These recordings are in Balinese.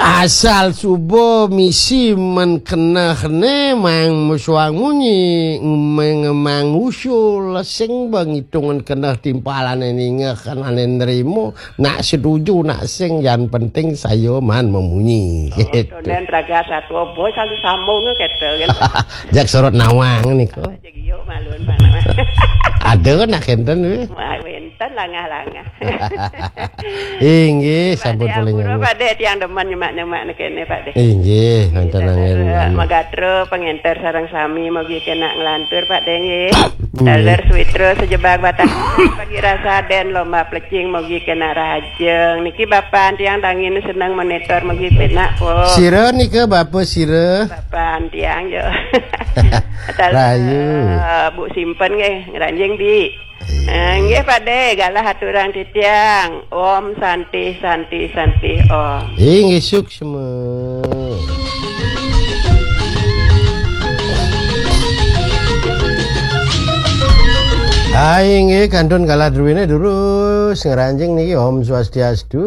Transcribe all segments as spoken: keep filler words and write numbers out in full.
Asal suba misi men keneh ne mang musuang munyi, ngemeng mang usul, sing ba ngitungan keneh timpalane ningeh kenane nrimo, nak setuju, nak sing, yang penting saya man memunyi. Oh, gitu. Tunden raga satwa, boy, selalu sambung kata kan. Jak sorot nawang nika. Jadi yuk malun mana. Ada nak kenten, weh? Wah, wenten langah-langah. Inggih, sampun Pakde, paling ampura, nggih. Pakde, tiang demen nyemak-nyemak ne kene, Pakde. Inggih, wonten angin, eh, anu. Magatra, pengenter sareng sami, mugi kena nglantur, Pakde, nggih. Inggih. Taler Switra sejebak batang pagi rasa den lomba plecing, mugi kena rahajeng. Niki bapan tiang dangin seneng monitor, mugi penak, po. Sira nika, bapa sira? Bapan tiang, yo. Taler, rahayu. Eh, Bu Simpen, nggih, ngranjing, Bi. Eh, nggih, Pakde, galah aturang titiang. Om Santi, Santi, Santi, Om. Inggih, suksma. Ah, inggih, kantun galah druwine durus ngranjing niki. Om Swastiastu.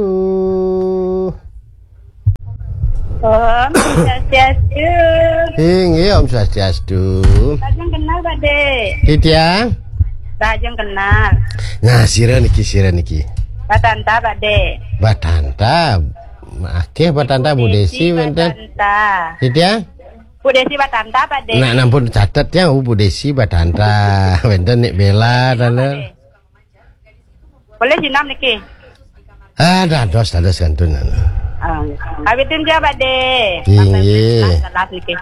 Om Swastiastu. Inggih, Om Swastiastu. Lajeng kenal, Pakde. Titiang? Lajeng kenal. Nah, sira niki, sira niki. Batanta, Pakde. Batanta. Akeh Batanta, Bu Desi wenten. Batanta. Titiang? Bu Desi Batanta, Pakde. Nak nampun catet ya, Bu Desi Batanta. Wenten Nik Bella, Pakde. Boleh sinam niki? Ah, dados, dados kantun. Ah, kawitin ya, Pakde. Inggih. Telas niki.